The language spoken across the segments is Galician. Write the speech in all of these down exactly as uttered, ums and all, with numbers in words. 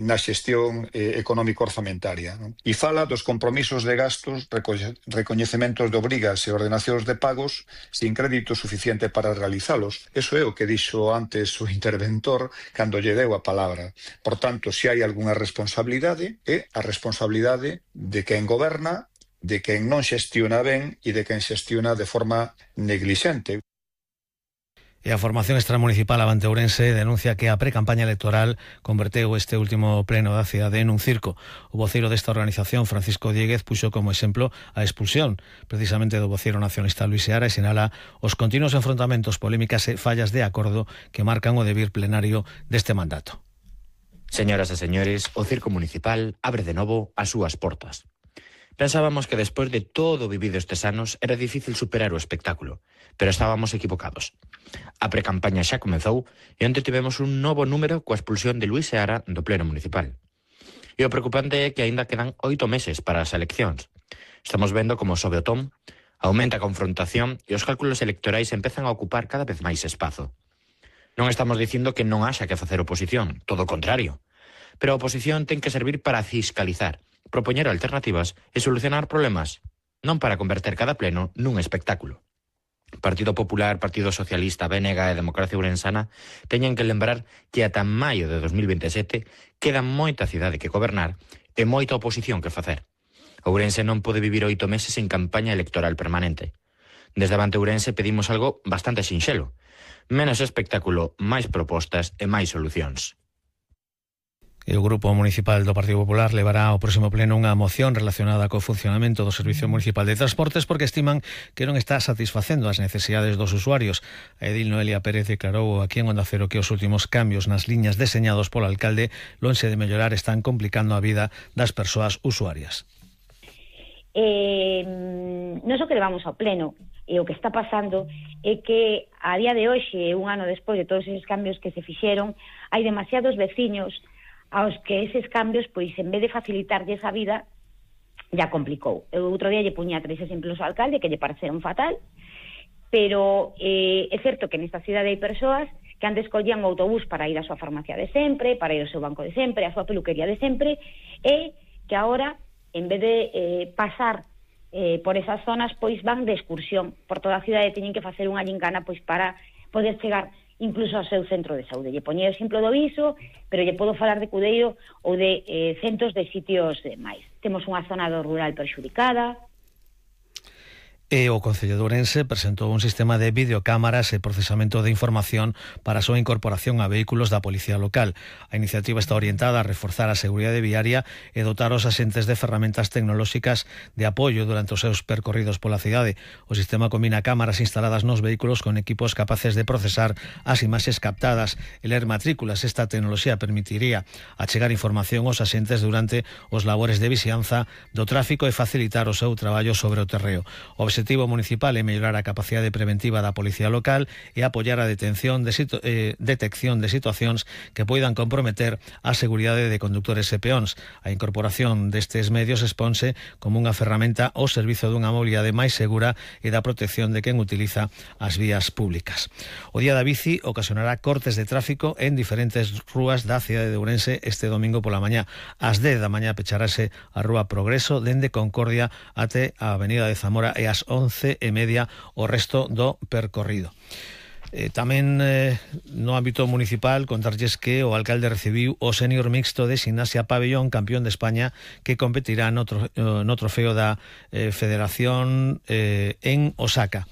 na xestión eh, económico-orzamentaria, non? E fala dos compromisos de gastos, recoñecementos de obrigas e ordenacións de pagos sin crédito suficiente para realizalos. Eso é o que dixo antes o interventor cando lle deu a palabra. Por tanto, se hai algunha responsabilidade, é a responsabilidade de quen goberna, de quen non xestiona ben e de quen xestiona de forma neglixente. E a formación extramunicipal Avante Ourense denuncia que a pre-campaña electoral converteu este último pleno da cidade en un circo. O voceiro desta organización, Francisco Dieguez, puxo como exemplo a expulsión precisamente do voceiro nacionalista Luis Seara e sinala os continuos enfrontamentos, polémicas e fallas de acordo que marcan o devir plenario deste mandato. Señoras e señores, o circo municipal abre de novo as súas portas. Pensábamos que despois de todo o vivido estes anos era difícil superar o espectáculo, pero estábamos equivocados. A precampaña xa comezou e onte tivemos un novo número coa expulsión de Luis Seara do pleno municipal. E o preocupante é que aínda quedan oito meses para as eleccións. Estamos vendo como sobe o tom, aumenta a confrontación e os cálculos electorais empezan a ocupar cada vez máis espazo. Non estamos dicindo que non haxa que facer oposición, todo o contrario. Pero a oposición ten que servir para fiscalizar, propoñer alternativas e solucionar problemas, non para converter cada pleno nun espectáculo. Partido Popular, Partido Socialista, B N G e Democracia Ourensana teñen que lembrar que ata maio de dos mil veintesete queda moita cidade que gobernar e moita oposición que facer. Ourense non pode vivir oito meses en campaña electoral permanente. Desde Avante Ourense pedimos algo bastante sinxelo: menos espectáculo, máis propostas e máis solucións. E o Grupo Municipal do Partido Popular levará ao próximo pleno unha moción relacionada co funcionamento do Servicio Municipal de Transportes porque estiman que non está satisfacendo as necesidades dos usuarios. A edil Noelia Pérez declarou aquí en Onda Cero que os últimos cambios nas liñas deseñados polo alcalde, lonxe de mellorar, están complicando a vida das persoas usuarias. Eh, non só que levamos ao pleno, e o que está pasando é que a día de hoxe, un ano despois de todos esos cambios que se fixeron, hai demasiados veciños aos que eses cambios, pois, en vez de facilitarlle esa vida, ya complicou. Eu outro día lle puña tres exemplos ao alcalde que lle pareceron fatal, pero eh, é certo que nesta cidade hai persoas que antes collían o autobús para ir á súa farmacia de sempre, para ir ao seu banco de sempre, á súa peluquería de sempre, e que agora, en vez de eh, pasar eh, por esas zonas, pois van de excursión por toda a cidade, teñen que facer unha gincana pois para poder chegar incluso ao seu centro de saúde. Lle poñei o exemplo do Viso, pero lle podo falar de Cudeiro ou de eh, centos de sitios máis. Temos unha zona do rural perxudicada. E o Concello de Ourense presentou un sistema de videocámaras e procesamento de información para a súa incorporación a vehículos da Policía Local. A iniciativa está orientada a reforzar a seguridade viaria e dotar os axentes de ferramentas tecnolóxicas de apoio durante os seus percorridos pola cidade. O sistema combina cámaras instaladas nos vehículos con equipos capaces de procesar as imaxes captadas e ler matrículas. Esta tecnoloxía permitiría achegar información aos axentes durante os labores de vixianza do tráfico e facilitar o seu traballo sobre o terreo. O O objetivo municipal é mellorar a capacidade preventiva da Policía Local e apoiar a detención de situ- eh, detección de situacións que poidan comprometer a seguridade de condutores e peóns. A incorporación destes medios exponse como unha ferramenta ao servizo dunha mobilidade máis segura e da protección de quen utiliza as vías públicas. O Día da Bici ocasionará cortes de tráfico en diferentes rúas da cidade de Ourense este domingo pola mañá. Ás dez da mañá pecharase a Rúa Progreso dende Concordia até a Avenida de Zamora e ás once e media o resto do percorrido. Eh, tamén eh, no ámbito municipal contarlles que o alcalde recibiu o sénior mixto de Gimnasia Pabellón, campeón de España, que competirá no, tro, no trofeo da eh, Federación eh, en Osaka.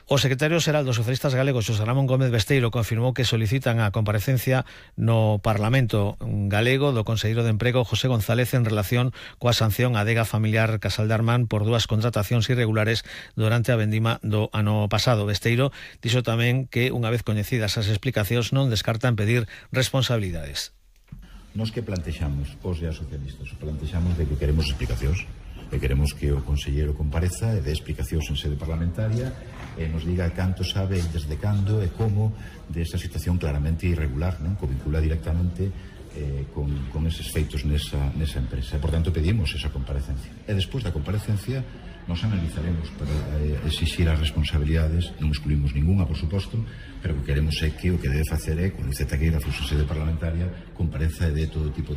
O secretario xeral dos socialistas galegos, Xosé Ramón Gómez Besteiro, confirmou que solicitan a comparecencia no Parlamento galego do conselleiro de Emprego, José González, en relación coa sanción á adega familiar Casal de Armán por dúas contratacións irregulares durante a vendima do ano pasado. Besteiro dixo tamén que, unha vez coñecidas as explicacións, non descartan pedir responsabilidades. Nos que plantexamos, os e as socialistas, plantexamos de que queremos explicacións, e queremos que o conselleiro compareza e dé explicacións en sede parlamentaria e nos diga canto sabe, desde cando e como desa situación claramente irregular, non? Que vincula directamente eh, con, con eses feitos nesa, nesa empresa. E, por tanto, pedimos esa comparecencia. E despois da comparecencia nos analizaremos para eh, exixir as responsabilidades. Non excluímos ninguna, por suposto, pero o que queremos é que o que debe facer é, con Iceta Queira, a sede parlamentaria, compareza e dé todo tipo de